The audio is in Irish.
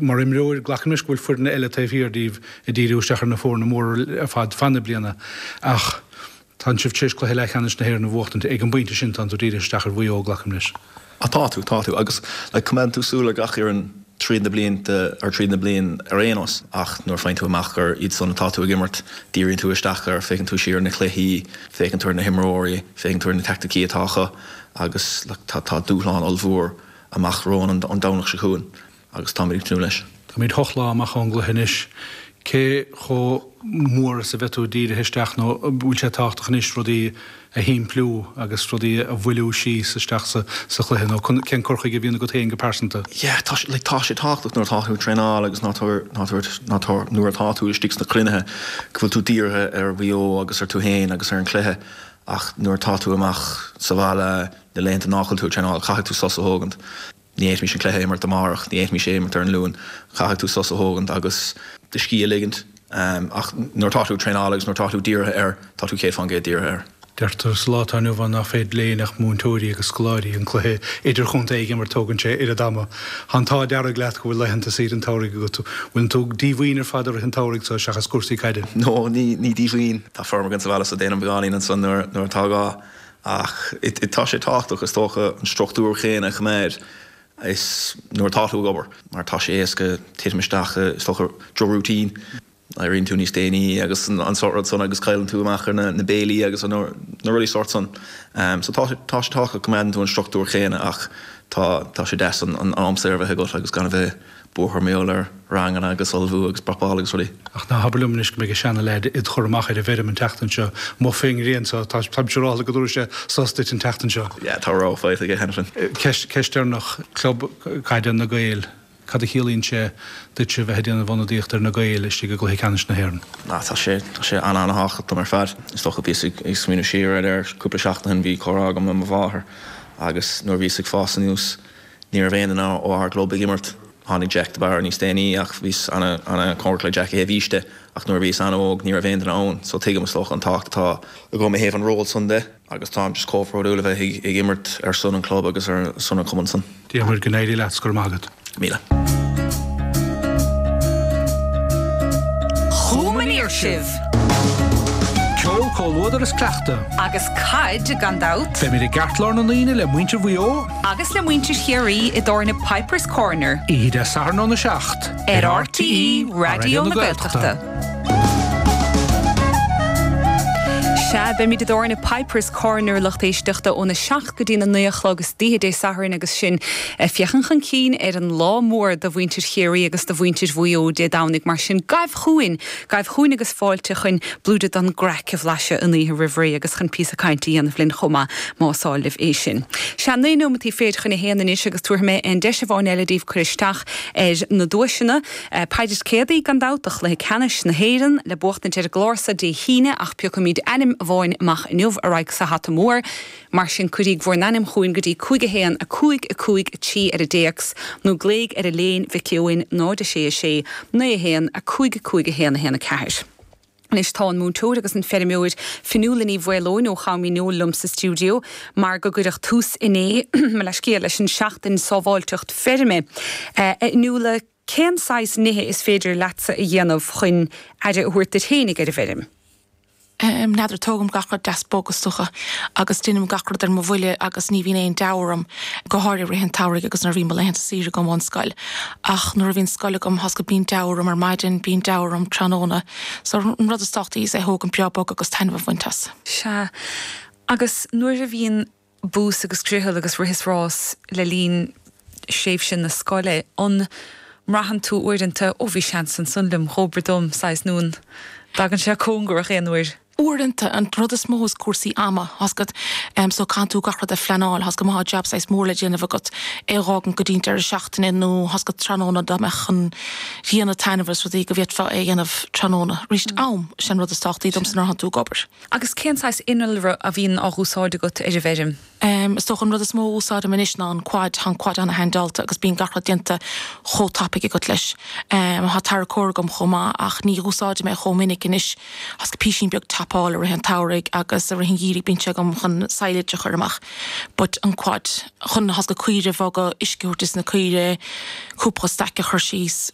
Mar imreoir, glacaim leis go bhfuil foirne eile taobh thiar díbh ag díriú isteach ar na foirne móra ar fad feadh na bliana ach tánn sibh tar éis cluiche leathcheannais na hÉireann a bhuachtaint. Ag an bpointe sin tánn tú dírithe isteach ar Mhaigh Eo, glacaim leis. Ah tá tú, tá tú. Agus like coimeádann tú súil ar gach fhoireann tríd na blianta, or tríd na bliain ar aon nós ach nuair a faigheann tú amach gur iad san atá tú ag imirt, díríonn tú isteach air, féachann tú siar ar na cluichí, féachann tú ar na himreoirí, féachann tú ar na teaicticí atá acu agus like tá tá dúshlán ollmhór amach romhainn an Domhnach seo chugainn. agus táimid ag tnúth leis. Táimid hocht lá amach ón gcluiche anois. Cé chomh mór is a bheidh tú dírithe isteach nó an bhfuil sé tábhachtach anois rudaí a shimpliú agus rudaí a mhoilliú síos isteach sa chluiche nó cén cur chuige a bhíonn agat féin go pearsanta? Yeah, tá sé, like, tá sé tábhachtach nuair atá tú ag traenáil agus nuair atá tú istigh sna cruinnithe go bhfuil tú dírithe ar Mhaigh Eo agus ar tú féin agus ar an chluiche ach nuair atá tú amach sa bhaile na laethanta nach bhfuil tú ag traenáil caithfidh tú sos a thógaint. Ní fhéadfaimis an cluiche a imirt amárach, ní fhéadfaimis é a imirt ar an Luan. Caithfidh tú sos a thógaint agus do scíth a ligint. Ach nuair atá tú ag traenáil agus nuair atá tú dírithe air, tá tú 100% dírithe air. Deirtear sa lá atá inniu ann nach féidir le éinne ach múinteoirí agus scoláirí an cluiche idirchontae a imirt, tógann sé oiread ama. Tá an t-ádh dearg leat go bhfuil laethanta saoire an tsamhraidh agat. Bhfuil tú díomhaoin ar fad i rith an tsamhraidh so seachas cúrsaí caide? No, ní díomhaoin. Tá feirm againn sa bhaile so déanaim beagáinín ansan nuair atá gá. Ach tá sé tábhachtach, is dócha, an struchtúr chéanna a choimeád is nuair atá tú ag obair, mar tá sé éasca titim isteach i, is dócha, droch-routine. Éiríonn tú níos déanaí agus an sórt rud san agus cailleann tú amach ar na béilí agus na rudaí sórt san. So tá sé tábhachtach go gcoimeádann tú an struchtúr chéanna ach tá tá sé deas an am saor a bheith agat agus gan a bheith buartha mar gheall ar ranganna agus ullmhú agus prapáil agus rudaí. Ach ná habair liom anois go mbeidh an seana-leaid id chur amach ar an bhfeirm an tseachtain seo, amuigh fén ngrian so, tá, táim siúráilte go dtabharfaidh sé sos duit an tseachtain seo. Yeah, tá rogha faighte aige cheana féin. Ceist, ceist deireanach, Club Caide na Gaeil, cad a chiallaíonn sé duitse bheith ag déanamh ionadaíocht ar na Gaeil istigh i gcluiche ceannais na hÉireann? Ah, tá sé, tá sé an-an-thábhachtach dom ar fad. Is dócha, bhíos ag, ag smaoineamh siar air ar cúpla seachtain ó shin, bhí comhrá agam le mo mháthair agus nuair a bhíos ag fás anuas, Ní raibh aon duine ó ár gclub ag imirt. Tháinig Jack de Barra níos déanaí ach bhíos ana-chóngarach le Jack ó thaobh aois de ach nuair a bhíos an-óg ní raibh aon duine ann so tuigim is dócha an tábhacht atá agam i thaobh an ról san de agus táim just chomh bródúil a bheith ag imirt ar son an chlub agus ar son an chumann san. Diarmuid, go n-éirí leat 's go raibh maith agat. Míle. Chugam aniar sibh! Ceol, comhluadar is cleachtadh. Agus caid, gan dabht. Beimid i gceartlár na ndaoine le muintir Mhaigh Eo. Agus le muintir Chiarraí i dtábhairne Piper's Corner. Oíche Dé Sathairn óna 7. Ar RTÉ Raidió na Gaeltachta. Sea, beimid i dtábhairne Piper's Corner, lucht éisteachta, óna 7 go dtína 9 a chlog istoíche Dé Sathairn agus sinn ag féachaint chun cinn ar an lá mór do mhuintir Chiarraí agus do mhuintir Mhaigh Eo Dé Domhnaigh. Mar sin, gabh chugainn! Gabh chugainn agus fáilte chun blúire den gcraic a bhlaiseadh an oíche roimh ré agus chun píosa cainte a dhéanamh linn chomh maith, más áil libh é sin. Sea, 9 nóimeataí fichead chun a haon anois agus tabharfaidh mé aon deis amháin eile daoibh cur isteach ar na duaiseanna. Paidí Céadaí, gan dabht, do chluiche ceannais na hÉireann le buachtaint ar an gclár so Dé hAoine ach piocfaimid ainm amháin amach inniu a raghaidh sa hata mór. Mar sin cuiríg bhur n-ainm chugainn go dtí 5 1 5 5 3 ar an dtéacs nó glaoigh ar Elaine Mhic Eoin 0 6 6 9 1 5 5 1 1 4. Anois tá an múinteoir agus an feirmeoir Fionnuala Ní Mhaoileoin ó Cham Uí Neoill liom sa stiúideo mar gur cuireadh tús inné, mo leithscéal, leis an Seachtain Sábháilteacht Feirme. A Fhionnuala, cén saghas nithe is féidir leatsa a dhéanamh chun aire a thabhairt duit féinig ar an bhfeirm? N'fheadar, tógaim gach rud deas bog is dócha agus déanaim gach rud ar mo bhuille agus ní bhíonn aon deabhadh orm, go háirithe i rith an tsamhraidh agus nuair a bhíonn mo laethanta saoire agam ón scoil. Ach nuair a bhíonn scoil agam, tá's agat, bíonn deabhadh orm ar maidin, bíonn deabhadh orm tráthnóna. So an rud is tábhachtaí is é a thógaint breá bog agus taitneamh a bhaint as. Sea. Agus nuair a bhíonn bús agus griothal agus rith is rás le linn thréimhse na scoile, an mbraitheann tú uaireanta, ó bhí seans ansan liom, dhóbair dom, saghas, nó an dtagann sé cóngarach aon uair? Uaireanta, an rud is mó is cúrsaí ama, tá's agat, so caitheann tú gach rud a phleanáil, tá's agat, má tá jab saghas mór le déanamh agat, é a dh'fhágaint go dtí an deireadh seachtaine nó tá's agat tráthnóna dá mbeadh an ghrian ag taitneamh agus rudaí go bhféadfá é a dhéanamh tráthnóna. Arís, am, sin an rud is tábhachtaí domsa nuair atánn tú ag obair. Agus cén saghas innealra a bhíonn á dh'úsáid agat ar an bhfeirm? Is dócha an rud is mó a úsáidim anois ná an quad. Tá an quad ana-haindeáilte agus bíonn gach rud déanta chomh tapaidh agat leis. Tá tarracóir agam chomh maith ach ní dh'úsáidim é chomh minic anois. Tá's agat písín beag tapaidh. capall i rith an tsamhraidh agus i rith an gheimhridh bíonn sé agam chun silage a chur amach. But an quad, chun tá 's agat caoire a bhogadh, uisce a thabhairt dos na caoire, cúpla staic a chur síos.